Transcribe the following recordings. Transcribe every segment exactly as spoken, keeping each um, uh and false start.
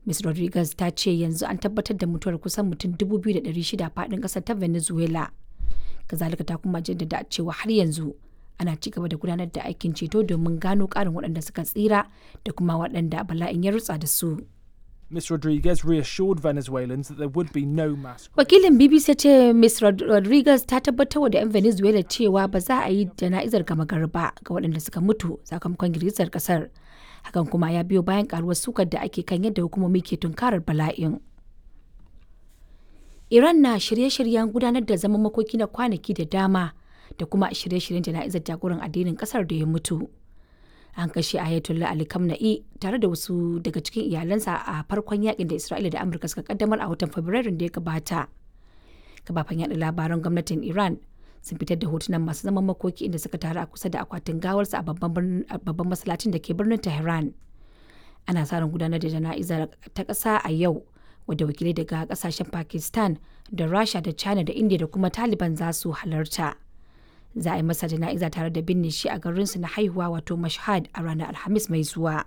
Miz Rodriguez ta ce yanzu an tabbatar da mutuwar kusan mutum dubu biyu da ɗari shida faɗin ƙasar ta Venezuela. Kazalika ta kuma jaddada cewa har yanzu ana ci gaba da gudanar da aikin ceto domin gano ƙarin waɗanda suka tsira da kuma waɗanda bala'in ya rutsa da su. Miz Rodriguez reassured Venezuelans that there would be no mass. Wakilin B B C ce Miz Rodriguez ta tabbatar da 'yan Venezuela cewa ba za a yi jana'izar gama gari ba ga waɗanda suka mutu sakamakon girgizar kasar. Hakan kuma ya biyo bayan karuwar sukar da ake kan yadda hukumomi ke tunkarar bala'in. Iran na shirye-shiryen gudanar da zaman makoki na kwanaki da dama da kuma shirye-shiryen jana'izar jagoran addinin kasar da ya mutu. An kashe Ayatollah Ali Khamenei tare da wasu daga cikin iyalansa a farkon yakin da Isra'ila da Amurka suka kaddamar a watan Fabrairun da ya gabata. Kafafen yada labaran gwamnatin Iran sun fitar da hotunan masu zaman makoki inda suka taru a kusa da akwatin gawarsa a babban masallacin da ke birnin Tehran. Ana sa ran gudanar da jana'izar ta ƙasa a yau, wadda wakilai daga kasashen Pakistan da Rasha da China da India da kuma Taliban za su halarta. Za a yi masa jana'iza tare da binne shi a garinsu na haihuwa, wato Mashhad, a ranar Alhamis mai zuwa.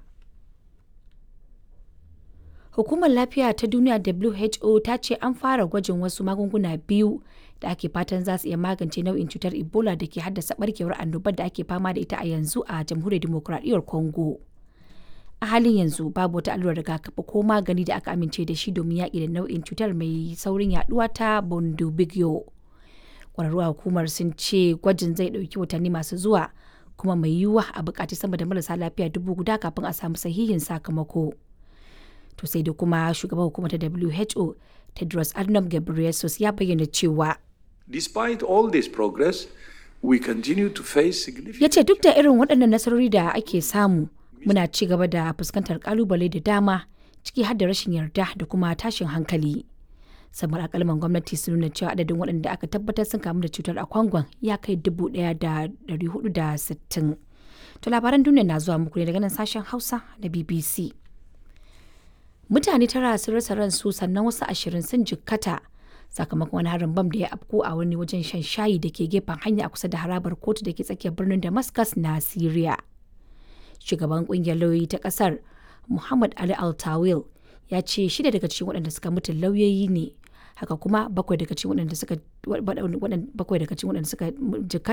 Hukumar Lafiya ta Duniya W H O ta ce an fara gwajin wasu magunguna biyu da ake fatan za su iya magance nau'in cutar Ebola da ke haddasa barkewar annobar da ake fama da ita a yanzu a Jamhuriyar Dimokuraɗiyyar Congo. A halin yanzu babu wata allurar rigakafi ko magani da aka amince da shi domin yaƙi da nau'in cutar mai saurin yaduwa ta Bundibugyo. Kwararru a hukumar sun ce gwajin zai ɗauki watanni masu zuwa, kuma mai yiwuwa a buƙaci sama da marasa lafiya dubu guda kafin a samu sahihin sakamako. To sai da kuma shugaban hukumar ta W H O, Tedros Adhanom Ghebreyesus, ya bayyana cewa Despite all this progress, we continue to face significant Ya ce duk da irin waɗannan nasarori da ake samu, muna ci gaba da fuskantar kalubale da dama, ciki har da rashin yarda da kuma tashin hankali. Samar alkalman gwamnati sun nuna cewa adadin waɗanda aka tabbatar sun kamu da cutar a Kwangon ya kai dubu ɗaya da ɗari hudu da sittin. To labaran duniya na zuwa muku ne daga nan sashen Hausa na B B C. Mutane tara sun rasa ransu sannan wasu ashirin sun jikkata sakamakon wani harin bam da ya afko a wani wajen shan shayi da ke gefen hanya a kusa da harabar kotu da ke tsakiyar birnin Damascus na Syria. Shugaban kungiyar lauyoyi ta kasar, Muhammad Ali Altawil, ya ce shida daga cikin waɗanda suka mutu lauyoyi ne, haka kuma bakwai daga cikin waɗanda suka bakwai daga cikin waɗanda suka jikkata